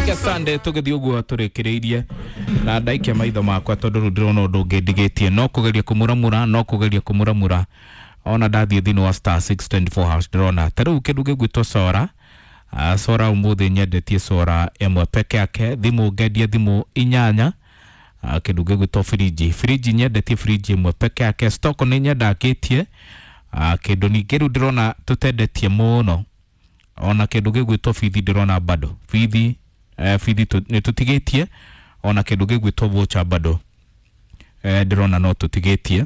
Reke Sunday tũgĩthiĩ ũguo tũrĩkĩrĩirie na ndaikia maitho makwa tondũ rĩu ndĩrona ũndũ ũngĩ ndigĩtie no kũgeria kũmuramura, no kũgeria kũmuramura. Ona ndathiĩ thĩinĩ wa *624 hash, ndĩrona ta rĩu kĩndũ gĩgwĩtwo sora. Sora ũmũthĩ nyendetie sora ĩmwe peke yake, thimũ ngendia thimũ 8. Kĩndũ gĩgwĩtwo firiji, firiji nyendetie firiji ĩmwe peke yake. Stock nĩ nyendakĩtie. Kĩndũ ningĩ rĩu ndĩrona tũtendetie mũno, ona kĩndũ gĩgwĩtwo bithi, ndĩrona bado bithi, bithi nĩ tũtigĩtie. Ona kĩndũ gĩgwĩtwo voucher bado, ndĩrona no tũtigĩtie.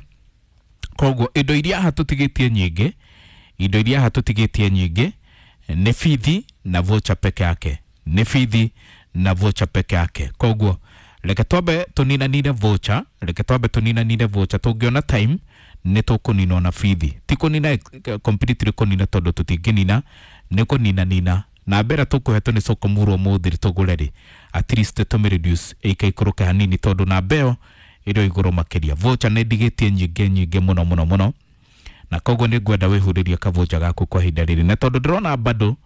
Koguo indo iria haha tũtigĩtie nyingĩ, indo iria haha tũtigĩtie nyingĩ nĩ bithi na voucher peke yake, nĩ bithi na voucher peke yake. Koguo reke twambe tũninanire voucher, reke twambe tũninanire voucher. Tũngĩona time nĩ tũkũnina na bithi, ti kũnina completely kũnina, tondũ tũtingĩnina, nĩ kũninanina na mbere tũkũhetwo nĩ soko murwo mũthĩ tũgũre rĩ, at least tũmĩ reduce ĩikaikũrũke hanini, tondũ namba ĩyo ĩrĩ o igũrũ makĩria. Voucher nĩ ndigĩtie nyingĩ nyingĩ mũno mũno mũno, na koguo nĩ ngwenda wĩhurĩrie kavoucher gaku kwa ihinda rĩrĩ, na tondũ ndĩrona bado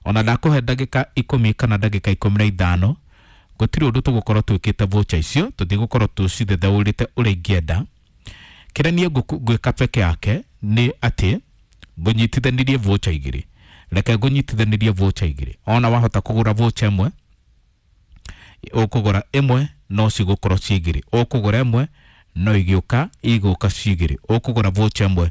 ona ndakũhe ndagĩka 10 kana ndagĩka 15, gũtirĩ ũndũ tũgũkorwo twĩkĩte. Voucher icio tũtigũkorwo tũcithetheũrĩte ũrĩa ingĩenda. Kĩrĩa niĩ ngwĩka peke yake nĩ atĩ ngũnyitithanirie voucher 2. Reke ngũnyitithanirie voucher 2. Ona wahota kũgũra voucher ĩmwe, ũkũgũra ĩmwe no cigũkorwo ci 2, ũkũgũra ĩmwe no igĩũka igũka ci 2, ũkũgũra voucher ĩmwe.